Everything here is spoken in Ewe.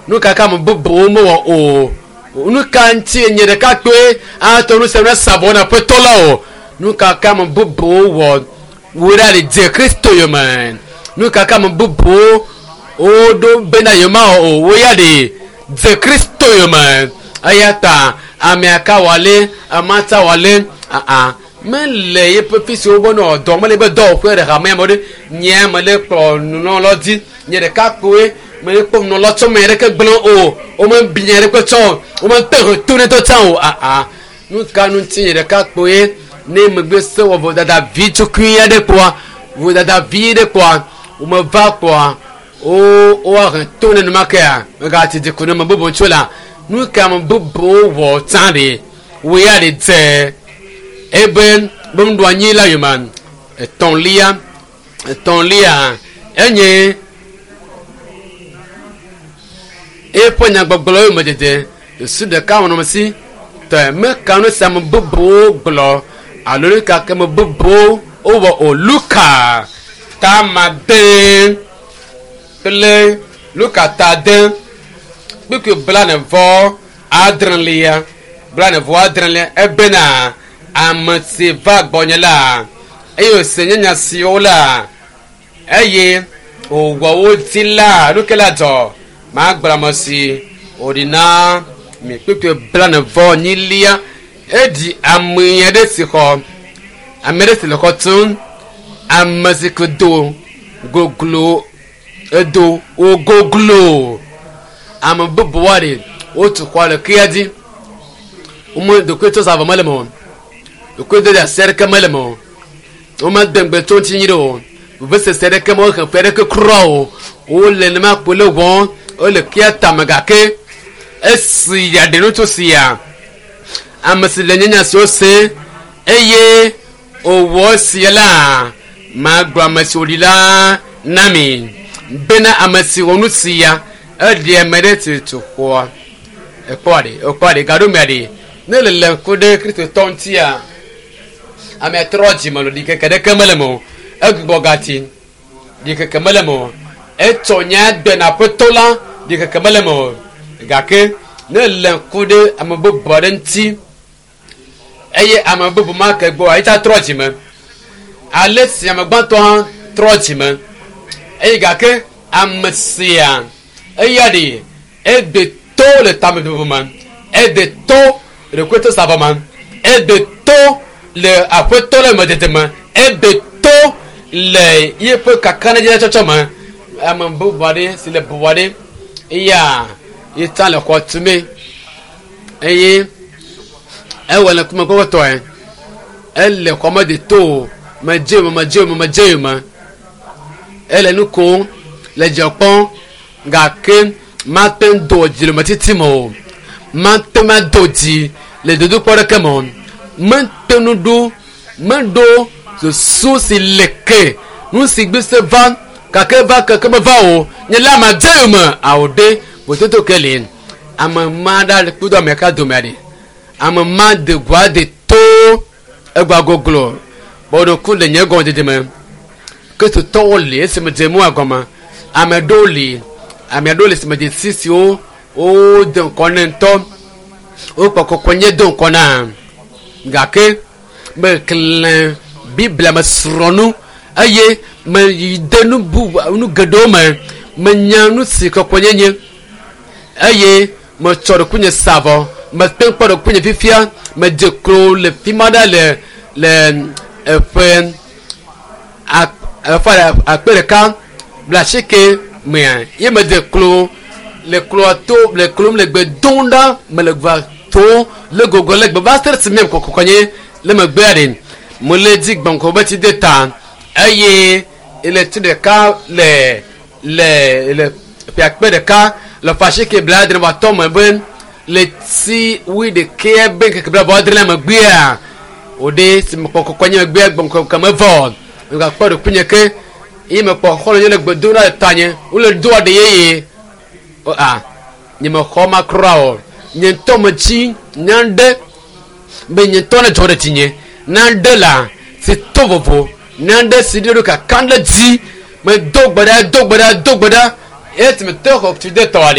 Nu ka ke ame bubuwo mewɔ o? Nu ka ŋuti nye ɖekakpui ate ŋu se ne sa vɔ na Aƒetɔ la o? Nu ka ke ame bubuwo wɔ wò ɖa ɖi dze Kristo yome? Nu ka ke ame bubuwo woɖo bena yewomawɔ o? Wò ya ɖi dze Kristo yome. Eya ta amea ka wɔ ale, amea ta wɔ ale, aa mele yeƒe fi si wobe nɔ dɔ mele be dɔwɔƒe ɖe hamea me ɖe nyea mele kplɔ nunɔlɔ dzi nye ɖekakpui mele kpɔ nunɔlɔ tsɔ me ɖeke gblẽ o wome bi nya ɖeke tsɔ o wome te he to ne tɔ tsã o aa nu ka nu ŋuti nye ɖekakpui ne megbe se wɔ vodada vi tsukui aɖe kpɔa vodada vi ɖe kpɔa womeva kpɔa wo woahe to ne numakea megati dzi ku ne me bubu tso la nu ka me bubuwo wɔ tsã ɖe wo ya ɖe dze ebe be nuɖo anyi la yome etɔ̃lia etɔ̃lia enye eƒe nyagbɔgblɔ yome dede susu ɖeka wɔnɔme si tɔ meka nu si ame bubuwo gblɔ alo nu ka ke ame bubuwo wowɔ o. Luka ta ade kple Luka ta 8 kpukpui 36 36 ebena ame si va gbɔnye la eye wòse nye nya siwo la eye wòwɔ wo dzi la nu ke la dzɔ magblɔ ame si wòɖi na mi. Kpukpui 44 eɖi ame aɖe si xɔ ame aɖe si le xɔ tum ame si ke do goglo edo wo goglo ame bubu aɖe wotu xɔ le kea dzi wome ɖokoe tso zavɔ mele me o ɖokoe do ɖe asi aɖeke mele me o womede ŋgbe tso ŋuti nyi ɖe o vevesese aɖeke me wohe ƒe aɖeke kura o wole nema kpo le wɔm wole kea tame gake esi yaɖe nu tso sia ame si le nye nya siwo se eye wòwɔ esia la magblɔ ame si wòɖi la na mi bena ame si wɔ nu sia eɖi ame ɖe si tu xɔa ekpɔ ɖe ekpɔ ɖe gaɖo mea ɖe ne le le ŋku ɖe kristotɔ ŋutia amea trɔ dzime lo ɖikeke ɖeke mele me o egbugbɔ gati ɖikeke mele me o etsɔ nya gbe na aƒetɔ la ɖikeke mele me o gake ne le ŋku ɖe ame bubu aɖe ŋuti eye ame bubu ma ke gbɔ etsa trɔ dzime ale si ame gbãtɔ hã trɔ dzime eye gake ame sia eya ɖe ede to le tamebubu me ede to le ɖokuitɔ savɔ me ede to le aƒetɔ le medede me ede to le yeƒe kakaɖedzi tsɔtsɔ me ame bubu aɖe si le bubu aɖe eya yetsa le xɔ tume eye ewɔ le ŋkume kpɔkpɔtɔe ele xɔ me de to medze me medze me medze me ele nu kom le dzidzɔ kpɔm gake mate ŋu do dzi le metiti me o mate ŋu ado dzi le dodokpɔ ɖeke me o mete ŋu ɖo meɖo susu si le ke nu si gbe se va gake va keke meva o nye la ma dze me awo ɖe vototo ke li ame ma ɖa kpudo ame ka dome aɖe ame ma de goa de to egba goglo bɔɖoku le nye gɔmedzedze me kristotɔwo li esime dze mua gɔme ame ɖewo li ame aɖewo le sime dzesi siwo wode ŋkɔ ne ŋutɔ wokpɔ kɔkɔ nye do ŋkɔ na gake meklẽ biblia me srɔ̃ nu eye meyi de nu bubu nu geɖewo me menya nu si kɔkɔnyenye eye metsɔ ɖokuinye sa vɔ mete kpɔ ɖokuinye fifia medze klo le fi ma ɖa le le eƒe eƒe 1980 mea ye medze klo le kloa to le klom le gbe dom ɖa mele gba to le gogo le gbe va se ɖe si me kɔkɔkɔnye le megbea ɖe mele dzi gbɔnkɔ be tsi de ta eye le tsi ɖeka le le le ƒe 1980 me be le tsi wuiɖekɛ be ŋkeke 80 megbea wòɖe si mekpɔ kɔkɔnye megbea gbɔnkɔ ke mevɔ megakpɔ ɖokuinye ke eye mekpɔ xɔlɔ̃ nye le gbe dom ɖa le tanye wole doa ɖe yeye o a nye mexɔ ma kura o nye ŋutɔ metsi nya ɖe be nye ŋutɔ ne dzɔ ɖe dzinye na ɖe la si to vovo na ɖe si ɖe ɖo kaka ɖe dzi medo gbe ɖa do gbe ɖa do gbe ɖa esi mete xɔ tsi de tɔa ɖe.